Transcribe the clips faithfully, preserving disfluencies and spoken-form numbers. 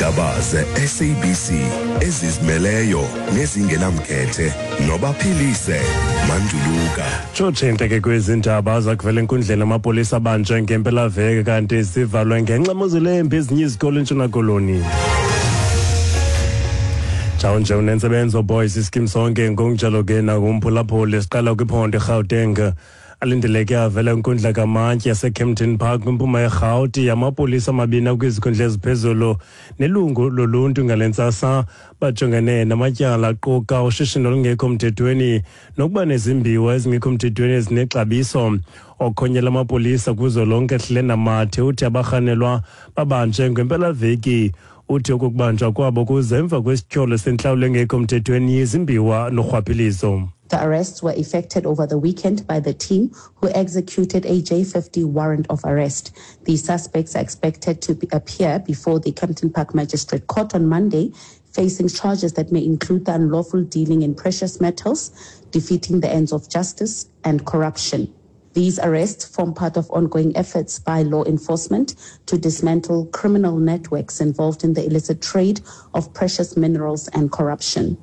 Iindaba ze-S A B C ezizimeleyo nezingenamkhethe noBaphilise Manduluka. Tshotshe ke kwezi ndaba: zakuvela enkundleni amapolisa abanjwe ngempelaveki, kanti zivalwe ngenxa yemozulu embi ezinye izikolo eNtshona Koloni. Njalo nje unentsebenzo boys iskim sonke ngokunjalo ke nakumphulaphuli. Siqala kwiphondo iGauteng. Alindeleke avela inkundla kamantyi yaseKempton Park kwimpuma yeRhawuti amapolisa amabini akwizikhundla eziphezulu nelungu loluntu ngale ntsasa. Bajongene namatyala aquka ushishino olungekho mthethweni nokuba nezimbiwa ezingekho mthethweni ezinexabiso. Okhonyela amapolisa kuzwelonke Hlena Mathe uthi abarhanelwa babanjwe ngempelaveki. Uthi okokubanjwa kwabo kuze emva kwesityholo sentlawulo engekho mthethweni yezimbiwa norhwaphilizo. The arrests were effected over the weekend by the team who executed a J fifty warrant of arrest. The suspects are expected to be, appear before the Kempton Park Magistrate Court on Monday, facing charges that may include the unlawful dealing in precious metals, defeating the ends of justice, and corruption. These arrests form part of ongoing efforts by law enforcement to dismantle criminal networks involved in the illicit trade of precious minerals and corruption.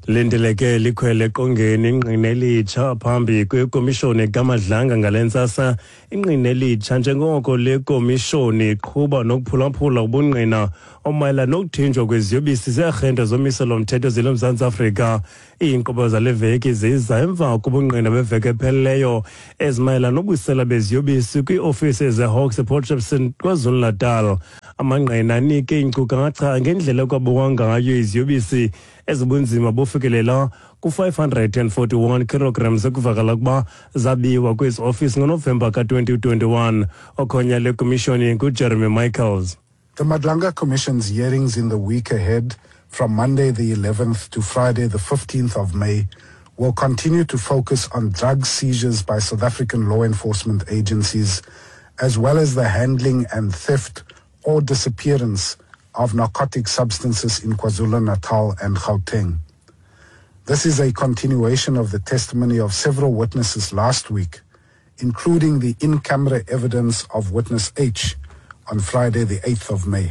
Lindeleke likhwele eqongeni ingqina elitsha phambi kwekomishoni kaMadlanga ngale ntsasa, ingqina elitsha njengoko le komishoni iqhuba nokuphulaphula ubungqina omayelana nokuthinjwa kweziyobisi zearhente zomiselo mthetho zelo Mzantsi Afrika. Iinkqubo zale veki ziza emva kobungqina beveki epheleleyo ezimayelana nobusela beziyobisi kwiiofisi zeHawks ePort Shepstone KwaZulu-Natal. Amangqina anike iinkcukacha ngendlela ekwabukwa ngayo iziyobisi ezibunzima bufikelela ku-five hundred and forty-one kilograms ekuvakala ukuba zabiwa kwezi ofisi ngoNovemba ka-twenty twenty-one. Okhonya le komishoni nguJeremy Michaels. The Madlanga Commission's hearings in the week ahead, from Monday the eleventh to Friday the fifteenth of May, will continue to focus on drug seizures by South African law enforcement agencies, as well as the handling and theft or disappearance of narcotic substances in KwaZulu-Natal and Gauteng. This is a continuation of the testimony of several witnesses last week, including the in-camera evidence of witness H on Friday the eighth of May.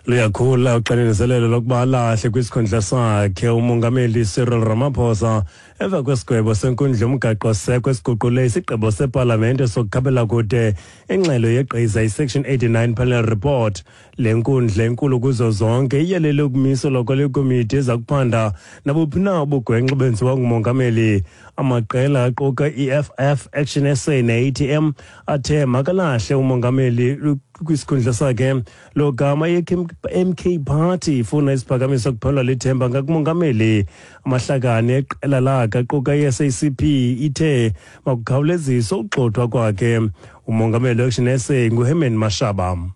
Luyakhula uxinizelelo lokuba alahle kwisikhundla sakhe umongameli Cyril Ramaphosa emva kwesigwebo senkundla yomgaqo-seko esiguqule isigqibo sepalamente sokukhabela kude ingxelo yegqiza iSection eighty-nine panel report. Le nkundla enkulu kuzo zonke iyalele ukumiselwa kwale komiti eza kuphanda nabuphi na ubugwenxa benziwa ngumongameli. Amaqela aquka i-E F F, Action S A ne-A T M athe makalahle umongameli kwisikhundla sakhe, lo gama i-M K Party ifuna isiphakamiso kuphelelwa lithemba ngakumongameli. Amahlakani eqela lakhe aquka i-S A C P ithe makukhawuleziswe ukugxothwa kwakhe. Umongameli we-Action S A nguHerman Mashaba.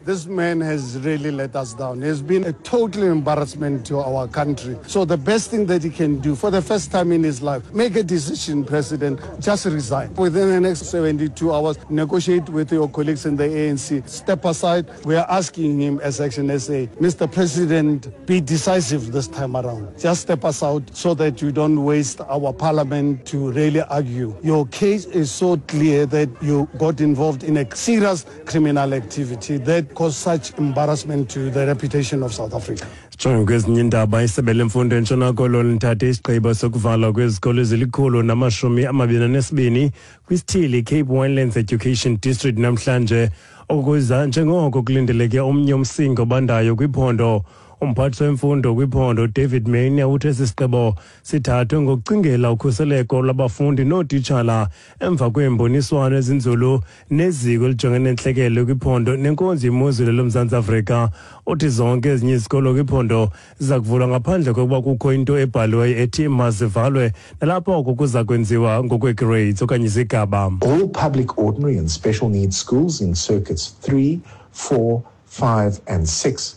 This man has really let us down. He's been a total embarrassment to our country. So the best thing that he can do for the first time in his life, make a decision, President, just resign. Within the next seventy-two hours, negotiate with your colleagues in the A N C. Step aside. We are asking him as Action S A, Mister President, be decisive this time around. Just step us out so that you don't waste our parliament to really argue. Your case is so clear that you got involved in a serious criminal activity that caused such embarrassment to the reputation of South Africa. Sijonge kwezinye iindaba. Isebe lemfundo eNtshona Koloni lithathe isigqibo sokuvalwa kwezikolo ezilikhulu namashumi amabini anesibini kwisithili Cape Winelands Education District namhlanje, okuza njengoko kulindeleke omnye umsinga obandayo kwiphondo. Umphathiswa wemfundo kwiphondo David Maynier uthe esi sigqibo sithathwe ngokucingela ukhuseleko lwabafundi nootitshala emva kweemboniswano ezinzulu neziko elijongene nentlekele kwiphondo nenkonzo yemozulu loMzantsi Afrika. Uthi zonke ezinye izikolo kwiphondo ziza kuvulwa ngaphandle kokuba kukho into ebhaliweyo ethi mazivalwe, nalapho oko kuza kwenziwa ngokwe-grades okanye izigaba. All public ordinary and special needs schools in circuits three, four, five, and six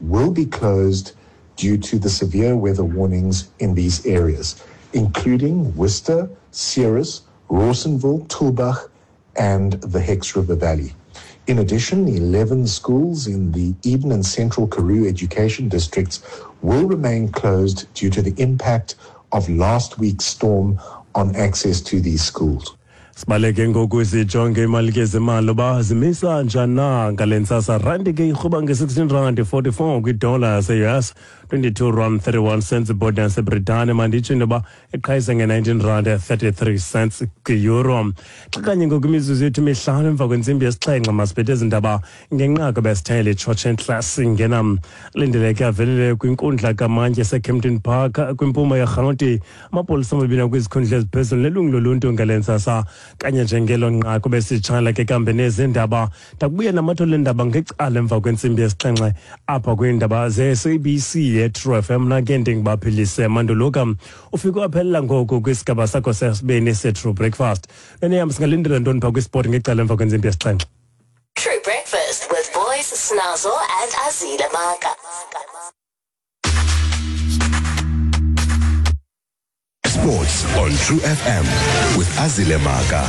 will be closed due to the severe weather warnings in these areas, including Worcester, Ceres, Rawsonville, Tulbagh, and the Hex River Valley. In addition, eleven schools in the Eden and Central Karoo education districts will remain closed due to the impact of last week's storm on access to these schools. Sibaleke ngoku sijonge imali ke zemali uba zimisa njani na ngale ntsasa. Randi ke irhuba nge-sixteen rand forty-four kwidola yase-U S, twenty-two rand thirty-one cents ibhondi yaseBritane. Manditsho into yoba iqhayise nge-nineteen rand thirty-three cents kwi-euro. Xa kanye ngoku imizuzu yethu mihlanu emva kwentsimbi yesixhenxe, masiphethe ezi ndaba ngenqaku besithele itshotshe ntlasi ngena. Lindeleke avelele kwinkundla kamantyi eseKempton Park kwimpuma yeRhawuti amapolisa amabini akwizikhundla eziphezulu nelungu loluntu ngale ntsasa. Kanye njengelo nqaku besitshala ke kambe nezindaba, ndakubuya namathole endaba ngecala emva kwentsimbi yesixhenxe apha kwiindaba ze-S A B C ye-True F M. Mna ke ndingubaphilise Manduluka. Ufike waphelela ngoku kwisigaba sakho sesibini se-True Breakfast. Nene yam, singalindela ntoni phaa kwisport ngecala emva kwentsimbi yesixhenxe? True Breakfast with Boys, Snazo and Azile Maka. Sports on True F M with Azile Maka.